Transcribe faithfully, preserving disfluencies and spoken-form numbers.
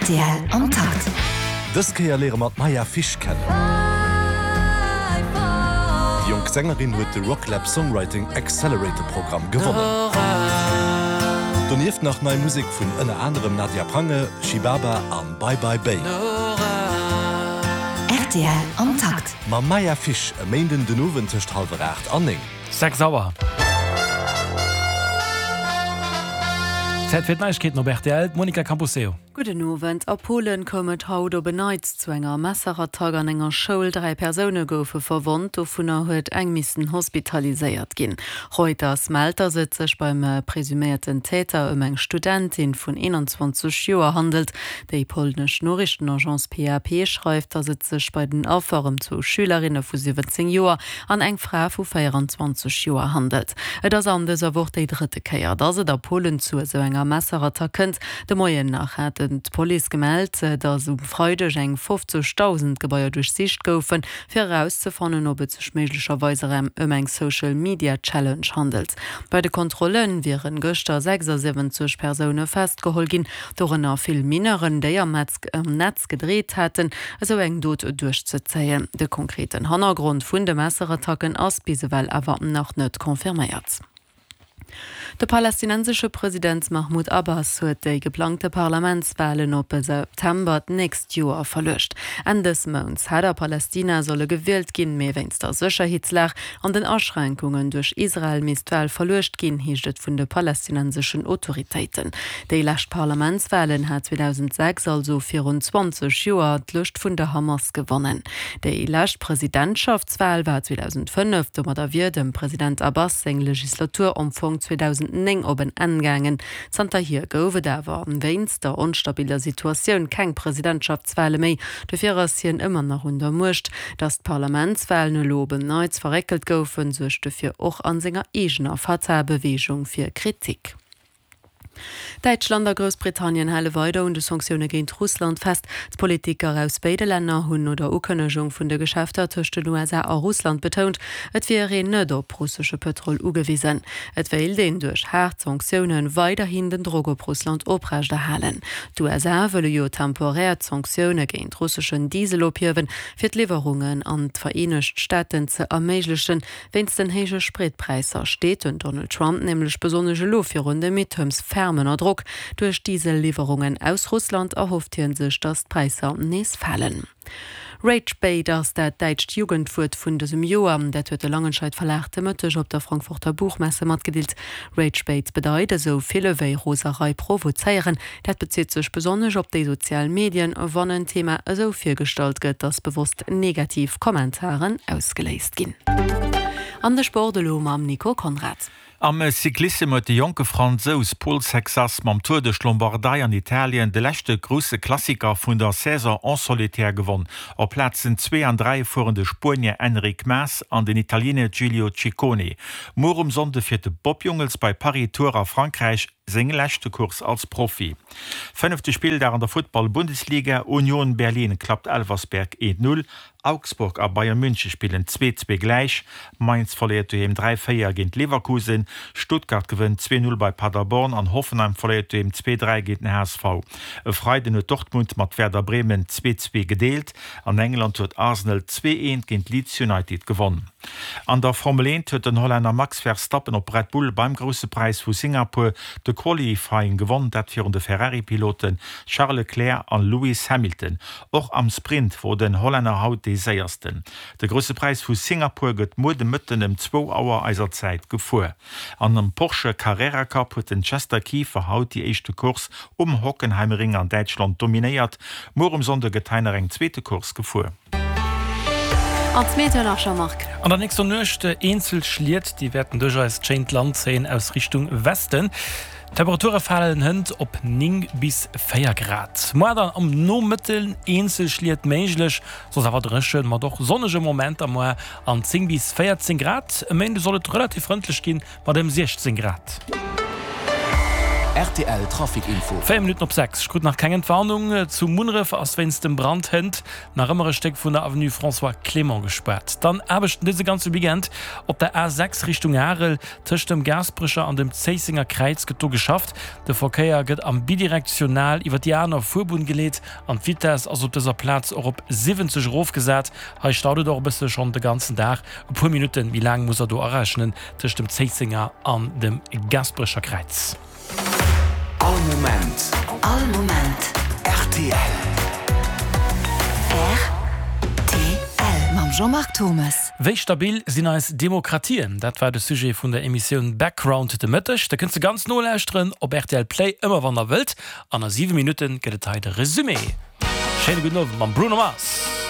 Rtl am Takt. Dës Kéier léiere mer d'Maya Fish kennen. Déi jonk Sängerin huet de Rocklab Songwriting Accelerator Programm gewonnen. Donieft nach nei Musek vun ënner anerem Nadia Prange, Shibaba an Bye Bye Bay. Rtl am Takt. Mam Maya Fish e Méinden den Owend tëscht hallwer aacht an néng. Sechs Auer. Zäit fir d'Neiegkeeten op rtl, d'Monica Camposeo. Gudden Owend. A Polen koum et haut op en Neits zu enger Messerattack an enger Schoul. Dräi Persoune goufe verwonnt, dovunner huet eng missen hospitaliséiert ginn. Reuters mellt, datt et sech beim presuméierten Täter ëm eng Studentin vun eenanzwanzeg Joer handelt. Déi polnesch Noriichtenagence P A P schreift, datt et sech bei den Affer ëm zwou Schülerinne vu siwwenzéng Joer an eng Fra vu véieranzwanzeg Joer handelt. Et ass an dëser Woch déi drëtte Kéier, datt et a Polen zu esou enger Messerattack kënnt. De Moien nach hat d'Police gemellt, datt um Freideg eng fofzegdausend Gebaier duerchsicht goufen, fir erauszefannen, ob et sech méiglecherweis erëm ëm eng Social Media Challenge handelt. Bei de Kontrolle wiere gëschter sechsasiwwenzeg Persoune festgeholl ginn, dorënner vill Mineuren, déi am Netz gedreet haten, esou eng Dot duerchzezéien. De konkreten Hannergrond vun de Messerattacken ass bis ewell awer nach net confirméiert. De palästinensesche President Mahmoud Abbas huet déi geplangte Parlamentswalen op September d'nächst Joer verluecht. Enn dës Mounts hätt a Palästina solle gewielt ginn, mee wéinst der Sécherheetslag an den Aschränkungen duerch Israel misst d'Wal verluecht ginn, heescht et vun de palästinenseschen Autoritéiten. Déi lescht Parlamentswalen hat zweedausendsechs, also virun zwanzeg Joer, d'Lëscht vun der Hamas gewonnen. Déi lescht Presidentschaftswal war zweedausendfënnef, domadder wier dem President Abbas seng Legislatur am Fong zweedausendnéng op en Enn gaangen. Zanterhier gouf et awer wéinst der onstabiller Situatioun keng Presidentschaftswale méi. Dofir ass hien ëmmer nach un der Muecht. Datt d'Parlamentswalen elo op en Neits verréckelt goufen, suergt dofir och a senger eegener Fatah-Beweegung fir Kritik. Däitschland a Groussbritannien hale weider un de Sanktioune géint Russland fest. D'Politiker aus béide Länner hunn no der Ukënnegung vun de Geschäfter tëscht den U S A a Russland betount, et wier een net op russesche Pëtrol ugewisen. Et wéilt een duerch haart Sanktioune weiderhin den Drock op Russland oprechterhalen. D'U S A wëlle jo temporär d'Sanktioune géint russeschen Diesel ophiewen, fir d'Liwwerungen an d'Vereenegt Staaten ze erméiglechen. Wéinst den héije Spritpräisser steet den Donald Trump nämlech besonnesch elo virun de Midterms ferm ënner Drock. Duerch Diesel-Liwwerungen aus Russland erhofft hie sech, datt d'Präisser nees falen. Rage Bait ass dat däitscht Jugendwuert vun dësem Joer. Dat huet de Langenscheidt Verlag de Mëtteg op der Frankfurter Buchmesse matgedeelt. Rage Bait bedeit esou vill ewéi Roserei provozéieren. Dat bezitt sech besonnesch op déi sozial Medien, wann en Thema esou virgestallt gëtt, datt bewosst negativ Kommentaren ausgeléist ginn. An de Sport elo mam Nico Conrad. Am Cyclissem huet de jonke Fransous Paul Sexas mam Tour duerch d'Lombardei an Italien de leschte grousse Klassiker vun der Saison en solitaire gewonn. Op Plazen zwee an dräi fueren de Spuenier Enric Mas an den Italiener Giulio Ciccone. Muer um Sonnde fiert de Bob Jungels bei Paris-Tours a Frankräich seng leschte Course als Profi. Fënnefte Spilldag an der Futtball-Bundesliga, Union Berlin klappt Elversberg eent Null, Augsburg a Bayern München spillen zwee zwee gläich, Mainz verléiert doheem dräi véier géint Leverkusen, Stuttgart gewënnt zwee Null bei Paderborn an Hoffenheim verléiert doheem zwee dräi géint den H S V. E Freiden huet Dortmund mat Werder Bremen zwee zwee gedeelt. An England huet Arsenal zwee eent géint Leeds United gewonn. An der Formel eent huet den Hollänner Max Verstappen op Red Bull beim Grousse Präis vu Singapur de Qualifying gewonn, dat virun de Ferrari-Pilote Charles Leclerc an Lewis Hamilton. Och am Sprint wor den Hollänner haut dee Séiersten. De Grousse Präis vu Singapur gëtt muer de Mëtten ëm zwou Auer eiser Zäit gefuer. An am Porsche Carrera Cup huet den Chester Kieffer haut déi éischte Course um Hockenheimring an Däitschland dominéiert. Muer um Sonnde gëtt hei nach eng zweete Course gefuer. An d'Meteo nach, Jean-Marc. An der nächster Nuecht eenzel Schliet, déi wäerten duerch eist schéint Land zéien aus Richtung Westen. D'Temperature falen hënt op néng bis véier Grad. Moar dann am Nomëtten eenzel Schliet méiglech, soss awer dréchen, mat och sonnege Momenter moar an zéng bis véierzéng Grad. E Méinde soll et relativ frëndlech ginn, mat ëm siechzéng Grad. Rtl Trafic Info. Véier Minutten op sechs. Ech krut nach keng Entwarnung. Zu Munneref ass wéinst dem Brand hënt nach ëmmer e Stéck vun der Avenue François Clément gespaart. Dann Aarbechten dëse ganze Weekend op der A sechs Richtung Arel. Tëscht dem Gaasperecher an dem Zéissenger Kräiz gëtt do geschafft. De Verkéier gëtt am bidirektional iwwer déi aner Fuerbunn geleet an d'Vitess ass op dëser Plaz och op siwwenzeg erofgesat. Hei staut et och e bësse schonn de ganzen Dag. E puer Minutte méi laang muss der do arechnen tëscht dem Zéissenger an dem Gaasperecher Kräiz. All Moment. All Moment. Rtl. Rtl mam Jean-Marc Thomes. Wéi stabil sinn eis Demokratien? Dat war de Sujet vun der Emissioun Background de Mëtteg. Der kënnt se ganz nolauschteren op rtl Play, ëmmer wann der wëllt. An a siwe Minutte gëtt et hei de Resumé. Schéine gudden Owend mam Bruno Mars.